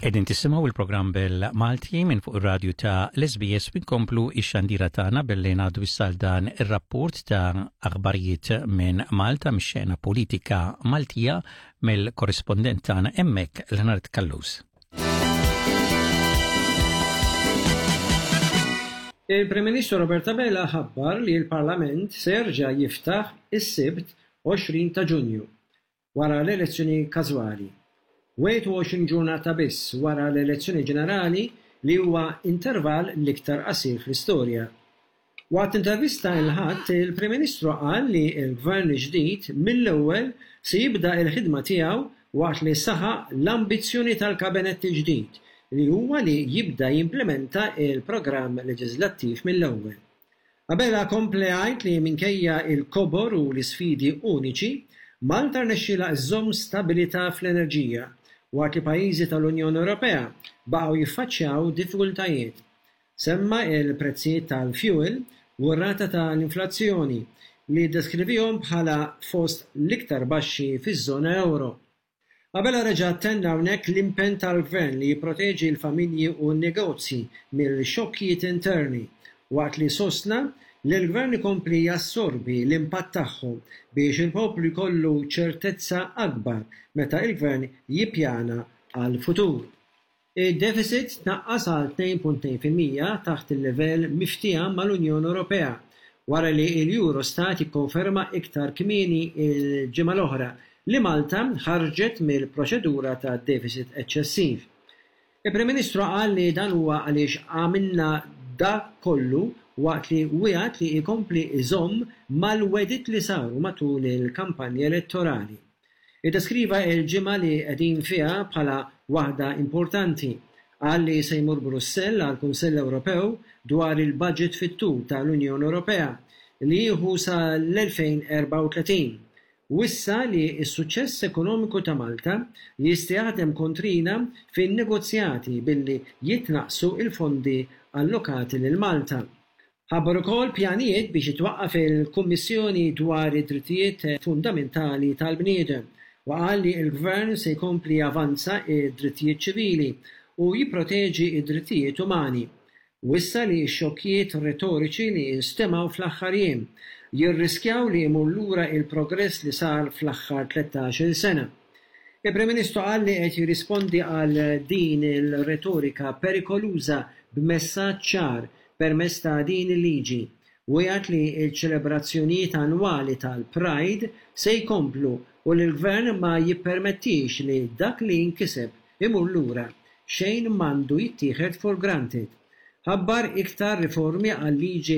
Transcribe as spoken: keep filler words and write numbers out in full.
Qegħdin tisimgħu il-programm bil-Malti minn fuq ir-radju ta' l-S B S. Inkomplu ix-xandira tagħna billi ngħaddu issa dan ir-rapport ta' aħbarijiet minn Malta, mix-xena politika Maltija, mill-korrispondent tagħna hemmhekk, Leonard Callus. Il-Prim Ministru Robert Abela ħabbar li l-Parlament se jerġa' jiftaħ is-Sibt għoxrin ta' Ġunju wara l-elezzjoni każwali. wieħed u għoxrin ġurnata biss wara l-elezzjoni ġenerali, li huwa intervall l-iktar qasir fl-istorja. Waqt intervista il-Ħadd, il-Prim Ministru qal li l-Gvern ġdid mill-ewwel se jibda l-ħidma tiegħu, waqt li saħaq l-ambizzjoni tal-kabinett il-ġdid li huwa li jibda jimplementa il-programm leġislattiv mill-ewwel. Abela kompla jgħid li minkejja il-kobor u l-isfidi uniċi, Malta rnexxielha iżżomm stabilità fl-enerġija waqt li pajjiżi tal-Unjoni Ewropea baqgħu jiffaċċjaw diffikultajiet. Semma il-prezzijiet tal-fuel u r-rata tal-inflazzjoni li ddeskrivihom bħala fost l-iktar baxxi fiż-żona euro. Abela reġa' tenna hawnhekk l-impenn tal-gvern li jipproteġi l-familji u n-negozji mill-xokkijiet interni, waqt li sostna li l-gvern ikompli jassorbi l-impatt tagħhom biex il-poplu jkollu ċertezza akbar meta il-gvern jippjana għal-futur. Id-deficit tnaqqas għal tnejn punt tnejn fil-mija, taħt il-livell miftiehem mal-Unjoni Ewropea, wara li l-Eurostat ikkonferma iktar kmieni il-ġimgħa l-oħra li Malta ħarġet mill-proċedura ta' deficit eċċessiv. Il-Prim Ministru qal li dan huwa għaliex għamilna dak kollu, waqt li wiegħed li jkompli iżomm mal-wegħdiet li saru matul il-kampanja elettorali. Iddeskriva il-ġimgħa li qegħdin fiha bħala waħda importanti. Qal li se jmur Brussell għal Kunsell Ewropew dwar il-budget fit-tul tal-Unjoni Ewropea li jieħu sa l-elfejn u erbgħa u tletin. Wissa li s-suċċess ekonomiku ta' Malta jista' jaħdem kontrina fin-negozjati billi jitnaqsu il-fondi allokati lil Malta. Ħabbar ukoll pjanijiet biex jitwaqqaf il-Kummissjoni dwar id-drittijiet fundamentali tal-bniedem u qal li l-Gvern se jkompli javanza id-drittijiet ċivili u jipproteġi id-drittijiet umani. Wissa li x-xokkijiet retoriċi li instemgħu fl-aħħar jiem jirriskjaw li jmur lura il-progress li sar fl-aħħar tlettax-il sena. Il-Prim Ministru qal li qed jirrispondi għal din il-retorika perikoluża b'messaġġ ċar permezz ta' din il-liġi. Wiegħed li l-ċelebrazzjonijiet annwali tal-Pride se jkomplu u li l-gvern ma jippermettix li dak li nkiseb imur lura. Xejn m'għandu jittieħed for granted. Ħabbar iktar riformi għal-liġi.